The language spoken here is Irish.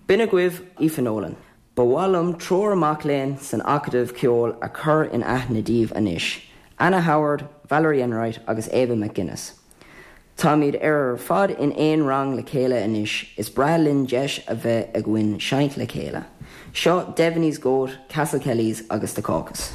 B'in agaibh Aoife Nolan. Ba mhaith liom triúr mac léinn san Acadamh Ceoil a chur in aithne daoibh anois, Anna Howard, Valerie Enright agus Ava McGuinness. Táimid ar fad in aon rang le chéile anois, is breá linn deis a bheith againn seinnt le chéile. Seo Devaney's Goat, Castle Kellys agus The Caucus.